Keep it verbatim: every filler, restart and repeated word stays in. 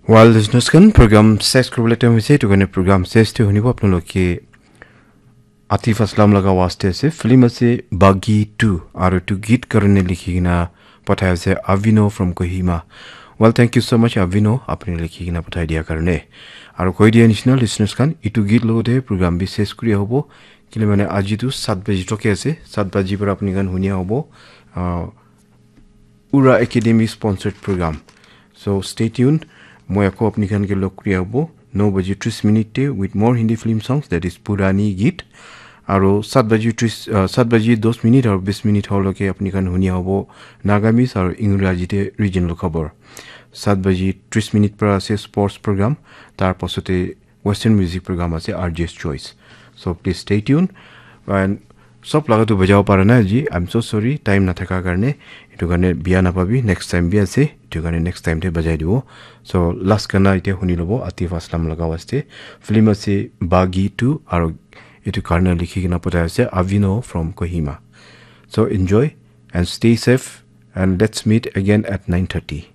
Well, listeners khan, program ses kuribole time hoise, etu karne program ses te hunibo apnaloke Atif Aslam laga awaaz te ase, film ase Baaghi two, aru etu geet karne likhi kena pathai ase Avino from Kohima. Well, thank you so much, Avino, apni likhi kena pathai dia karne. Aru koi dia nishina, listeners khan, etu geet logote program bi ses kuri hobo. Kile mane aji tu sat baji toke ase, sat baji para apni khan hunia hobo. Ah, Ura Academy sponsored program. So stay tuned. Moi ako apni khan ke log kuri abo no baji tris minute te with more Hindi film songs, that is Purani Geet. Aro sat baji tris, uh, sat baji dos minute aro bis minute holo ke apni khan huni abo Nagamese aro Ingraji te regional khobor. Sat baji tris minute para ase sports program. Tar pasote Western music program ase R J's Choice. So please stay tuned. And sob laga tu bajabo para nai aji. I'm so sorry, time nathaka karne. Etu karne biya napabi, next time bi ase. Etu karne next time te bajai dibo. So last gana ite huni lobo Atif Aslam laga waste. Film ase Baaghi two aro etu karne likhi kena pathai ase Avino from Kohima. So enjoy and stay safe and let's meet again at nine thirty.